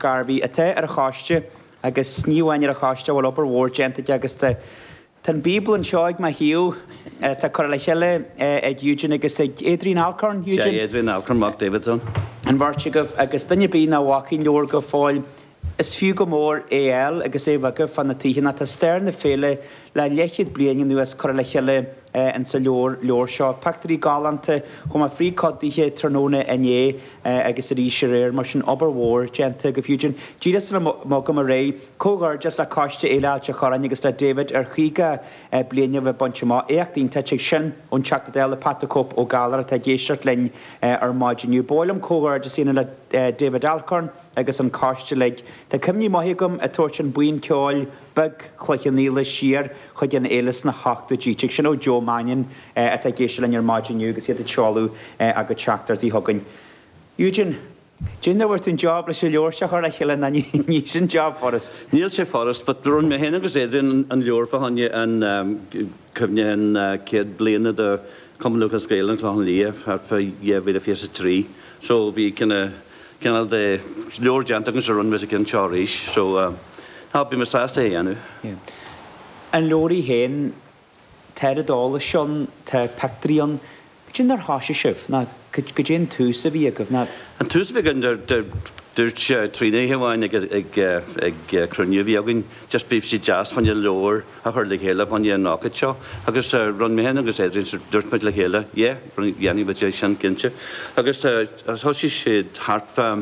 Gairbhí atá ar an choiste agus ní amháin ar an choiste, a bhfuil obair mhór déanta aige agus tá Tá an Bíobla anseo ag mo thaobh atá curtha le chéile ag Eugene agus ag Adrian Alcorn, Eugene? Sea, Adrian Alcorn, mac David ann. An bheirt agaibh agus duine ar bith nach bhfaca an leabhar go fóill, is fiú go mór é a fháil agus é a bheith agaibh fá na tithe nó tá stair na féile le leathchéad bliain anuas curtha le chéile insa leabhar leabhar seo. Pictiúirí galánta, chuaigh mé fríd cuid daoithe tráthnóna inné agus arís aréir, mar sin obair mhór déanta agaibh Eugene. Díreach sula mbogaim ar aghaidh, Comhghairdeas le Coiste Fhéile Ailt a' Chorráin agus le David ar 50 bliain a bheith bainte amach. Éacht iontach é sin ón Teachta Dála Pat the Cope Ó Gallchóir atá ag éisteacht linn ar maidin inniu. Ba mhaith liom comhghairdeas a dhéanamh le David Alcorn agus an coiste uilig. Tá cuimhní maithe agam ag tabhairt an buíon ceoil beag Chloich Cheann Fhaola siar chuig an fhéile sna hochtóidí. Tig sin ó Joe Mannion atá ag éisteacht linn ar maidin inniu agus iad ag seoladh a gcuid teachtaireachtaí chugainn. Eugene. Cén dóigh a bhfuair tú an job leis an leabhar seo a chur le chéile nó ní sin job furast. Níl sé furast but rinne mé féin agus Adrian an leabhar fá choinne an cuimhne an céad bliana de Cumann Lúthchleas Gael an Clochán Liath thart fá 2023 so bhí cineál de leabhar déanta againn so rinne muid an ceann seo arís so tá bhí mé sásta é a dhéanamh. Yeah. An leabhar í féin Tá oiread eolais ann, tá pictiúirí ann. Cad é mar thoisigh sibh, nó cad é an tús a bhí agaibh, nó. An tús a bhí againn, dúirt Tríona oíche amháin ag cruinniú a bhí againn, just bhí sé deas fá choinne leabhar a chur le chéile fá choinne an ócáid seo agus rinne mé féin agus Adrian, dúirt muid le chéile, yeah, dhéanfaidh muid é sin cinnte. Agus thosaigh siad thart fá,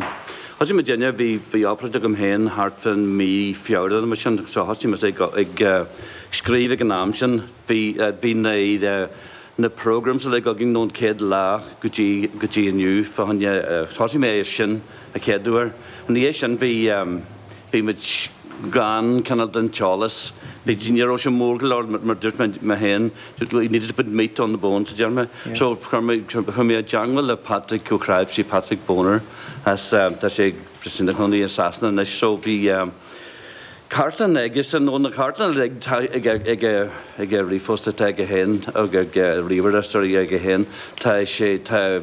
thosaigh muidinne, bhí bhí obráid agam féin thart fán mí Feabhra nó mar sin so thosaigh mise ag scríobh ag an am sin. Bhí, bhí na, na programmes uilig againn ón chéad lá go dtí, go dtí inniu fá choinne, thosaigh mé ar sin a chéad uair. Ina dhiaidh sin bhí, bhí muid gan cineál den t-eolas, bhí, ní raibh sé mór go leor mar dúirt mé, mé féin, we needed to put meat on the bones a deir mé. So chuir mé, chuir mé i dteangmháil le Patrick Ó Cnáimhsí, Patrick Boner as, tá sé ina chónaí i Sasana anois so bhí, Cartlann aigesean, nó na cartlanna uilig atá ag ag a ríomhphost atá aige féin, ag a ríomhaire, sorry, aige féin, tá sé, tá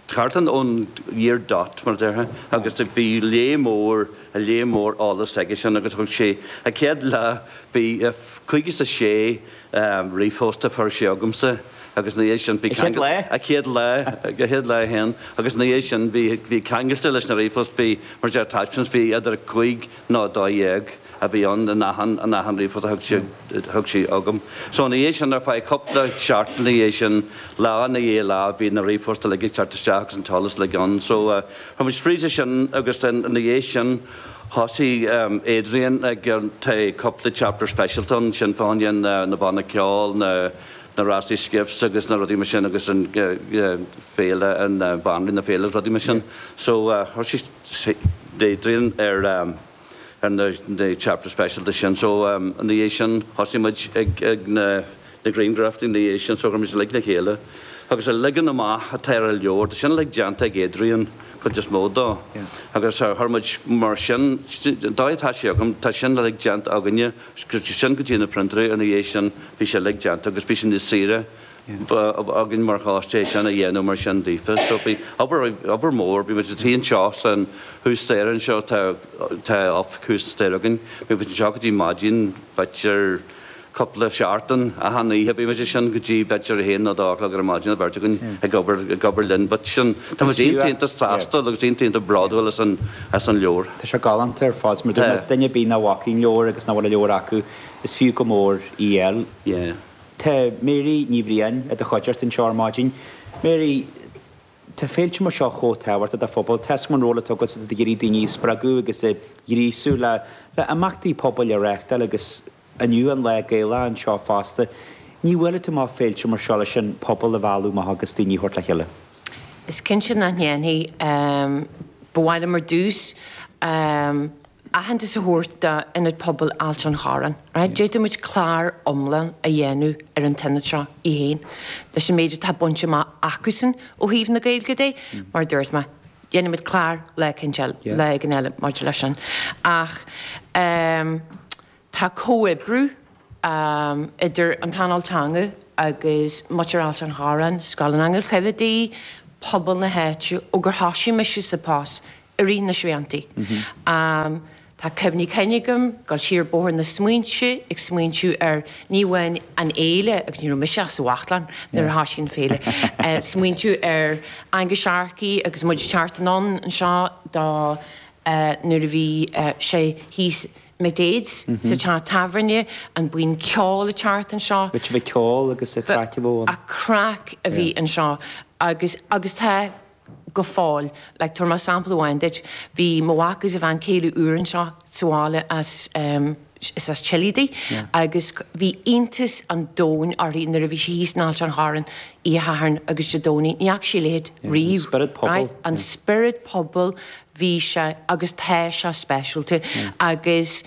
cartlann ón year dot, mar a déarfá, agus bhí lear mór, lear mór eolas aigesean agus thug sé, a chéad lá, bhí 56 ríomhphost a fuair sé agamsa agus ina dhiaidh sin bhí. A chéad lá? A chéad lá, a chéad lá féin agus ina dhiaidh sin bhí, bhí ceangailte leis na ríomhphost, bhí, mar a deir attachments, bhí idir 5 nó 12 a bhí ann in achan, in achan ríomhphost a thug sé, thug sé chugam. So ina dhiaidh sin, ar feadh cúpla seachtain ina dhiaidh sin, lá ina dhiaidh lá, bhí na ríomhphoist uilig ag teacht isteach agus an t-eolas uilig ann. So chuaigh muid fríd é sin agus then ina dhiaidh sin thosaigh Adrian ag, tá cúpla chapter speisialta ann, sin fá choinne na banna ceoil, na, na rásaí skiffs agus na rudaí mar sin agus an féile, an banríon na féile agus rudaí mar sin. So thosaigh Adrian ar ar na na chapter speisialta sin so ina dhiaidh sin thosaigh muid ag ag na na grianghraif ina dhiaidh sin so chuir muid uilig le chéile agus an leagan amach atá ar an leabhar tá sin uilig déanta ag Adrian cuid is mó dó agus chuir muid mar sin an dóigh atá sé agam tá sin uilig déanta againne sin go dtí na printéirí ina dhiaidh sin bhí sé uilig déanta agus bhí sé níos saoire againn mar choiste é sin a dhéanamh mar sin daofa. So bhí obair, obair mhór, bhí muid ag suí anseo san thuas staighre anseo, tá, tá oifig thuas staighre againn, bhí muid anseo go dtí maidin, b'fhéidir cúpla seachtain, achan oíche bhí muid ansin go dtí b'fhéidir a haon nó dó a chlog ar maidin, an bheirt againn ag obair, ag obair linn. But sin, tá muid iontach, iontach sásta agus iontach, iontach bródúil as an, as an leabhar. Tá sé galánta ar fad. Mar dúirt mé, duine ar bith nach bhfaca an leabhar agus nach bhfuil an leabhar acu, is fiú go mór í a fháil. Yeah. Tá Mary Ní Bhriain i do chuideachta anseo ar maidin. Mary, tá féilte mar seo chomh tábhachtach do phobal. Tá 'fhios agam an ról atá agatsa ag iarraidh daoine a spreagadh agus a ghríosú le le imeachtaí pobail a reáchtáil agus inniu an lá Gaelach anseo fosta. Ní bhuailfidh tú amach féilte mar seo leis an pobal a mhealladh amach agus daoine a thabhairt le chéile. Is cinnte nach ndéanfaidh. Ba mhaith liom ar dtús aitheantas a thabhairt d'Ionad Pobail Ailt an Chorráin. Right? D'fhéadfadh muid clár iomlán a dhéanamh ar an t-ionad seo í féin, leis an méid atá bainte amach acusan ó thaobh na Gaeilge de, mar a dúirt mé, dhéanfaidh muid clár lá éicint eile, lá éigin eile maidir leis sin. Ach tá comhoibriú idir an Pleanáil Teanga agus muintir Ailt an Chorráin, Scoil an Aingil Choimhéadaigh, pobal na háite, ó gur thosaigh mise sa post. i rith na sriantaí. Tá cuimhní cinn agam dul siar bóthar na smaointe ag smaointiú ar ní amháin an fhéile, agus ní raibh mise ach sa bhaclainn nuair a thoisigh an féile, smaointiú ar Angus Sharkey agus muid ag teacht anonn anseo do nuair a bhí sé thíos McDaid's sa teach tábhairne, an buíon ceoil ag teacht anseo. Bhí bhí ceol agus an chraic a bhí ann. An craic a bhí anseo agus agus tá go fóill. Like, tabharfaidh mé sampla amháin duit. Bhí mo mhac agus a bhean chéile úr anseo sa bhaile as, em, is as Chile di agus bhí iontas an domhain uirthi nuair a bhí sí thíos in Ailt an Chorráin Oíche Shathairn agus Dé Domhnaigh. Ní fhaca sí a leithéid riamh. An spiorad pobail. Right? An spiorad pobail, bhí sé agus tá sé speisialta agus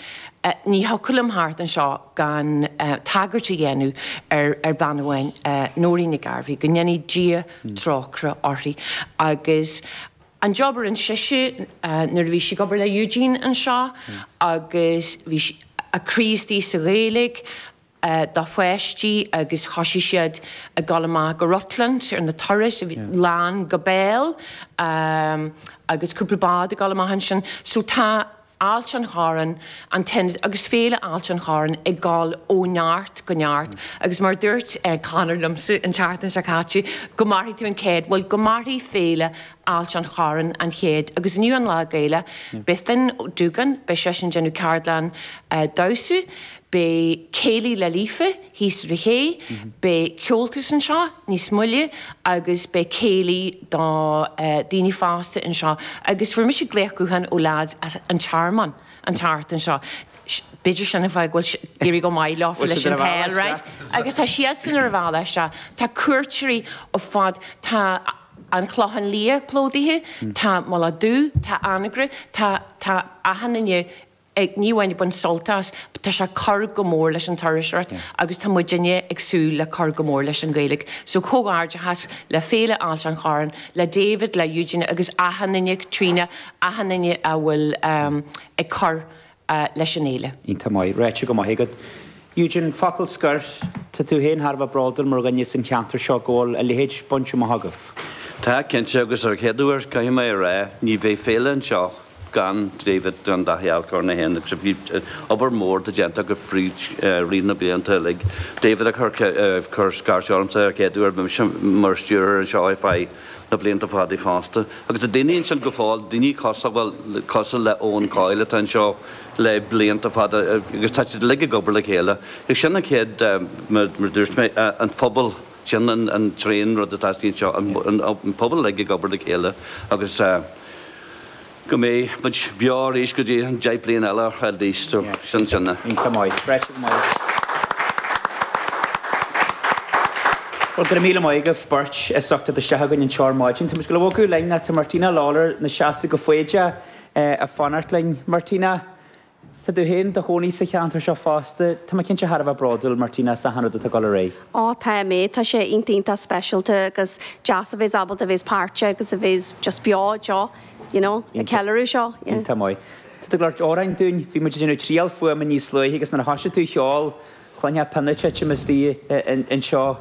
ní thiocfadh liom theacht anseo gan tagairt a dhéanamh ar ar bhean amháin, Nóirín Nic Gairbheith, go ndéanfaidh Dia trócaire uirthi. Agus an job a rinne sise nuair a bhí sí ag obair le Eugene anseo agus bhí sí, a croí istigh sa Ghaeilge dá pháistí agus thoisigh siad ag dul amach go Rutland ar na turais, a bhí lán go béal agus cúpla bád ag dul amach ansin. So tá Ailt an Chorráin, an t-ionad agus Féile Ailt an Chorráin ag dul ó neart go neart agus mar a dúirt Conor liomsa an tseachtain seo caite, go mairfidh tú an céad, bhuel go mairfidh Féile Ailt an Chorráin an chéad agus inniu an Lá Gaelach, beidh Finn Dúgan, beidh seisean ag déanamh ceardlann damhsa, Beidh céilí le Líofa thíos ar an ché, beidh ceoltas anseo níos moille agus beidh céilí do daoine fásta anseo agus fuair mise glaoch gutháin ó leaids as an Tearmann an tseachtain seo. B'fhéidir sin an fáth go bhfuil ag éirí go maith leofa leis an peil, right? Agus tá siadsan ar a bhealach isteach. Tá cuairteoirí ó fad, tá an Clochán Liath plódaithe, tá Mullach Dubh, tá Anagaire, tá tá achan duine ag, ní amháin ag baint sult as, tá sé ag cur go mór leis an turasóireacht agus tá muidinne ag súil le cur go mór leis an Ghaeilge. So comhghairdeachas le Féile Ailt an Chorráin, le David, le Eugene agus achan duine, Caitríona, achan duine a bhfuil ag cur leis an fhéile. Iontach maith. Ráite go maith agat. Eugene, focal scoir, tá tú féin thar a bheith bródúil mar dhuine as an cheantar seo go bhfuil a leithéid bainte amach agaibh. Tá, cinnte, agus ar an chéad uair, caithfidh mé a rá, ní bheadh féile anseo gan David, gan Daithí Alcorn é féin agus bhí obair mhór déanta acu fríd rith na blianta uilig. David a chuir scairt ormsa ar an chéad uair, bhí mise mar stiúrthóir anseo ar feadh na blianta fada fosta. Agus tá daoine ansin go fóill, daoine cosúil, cosúil le Eoin Coyle atá anseo le blianta fada agus tá siad uilig ag obair le chéile. Agus sin an chéad, mar a dúirt mé, an phobal, sin an tríú rud atá istigh anseo, an pobal uilig ag obair le chéile agus go mbeidh muid beo arís go dtí an 10 bliain eile at least, so sin sin é. Iontach maith. Ráite go maith. Bhuel, go raibh míle maith agaibh beirt as ucht teacht isteach chugainn anseo ar maidin. Tá muid ag dul a bhogadh linn ach tá Martina Lawlor 'na seasamh go foighdeach ag fanacht linn. Martina, Tá tú féin i do chónaí sa cheantar seo fosta. Tá mé cinnte thar a bheith bródúil, Martina, as achan rud atá ag dul ar aghaidh. Ó tá mé, tá sé iontach iontach speisialta agus deas a bheith ábalta a bheith páirteach agus a bheith just beo anseo, you know, ag ceiliúradh seo, yeah. Iontach maith. Tá tú ag labhairt amhráin dúinn. Bhí muid ag déanamh triail fuaime níos luaithe agus nuair a thoisigh tú a cheol, chluinfeá pionna ag titim istigh anseo.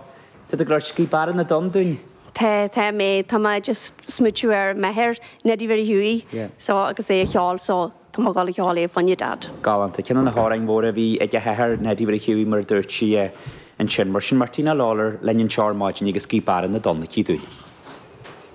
Tá tú ag labhairt Gaoth Beara na dTonn dúinn. Tá, tá mé, tá mé just smaoitiú ar m'athair, Neidí Mhary Hughie, so agus é a cheol so Tá mé ag dul a cheol é fá choinne Dad. Galánta. Ceann de na hamhráin mhóra a bhí ag a hathair, Neidí Mhary Hughie, mar a dúirt sí ansin. Mar sin, Martina Lawlor linn anseo ar maidin agus Gaoth Beara na dTonn aici dúinn.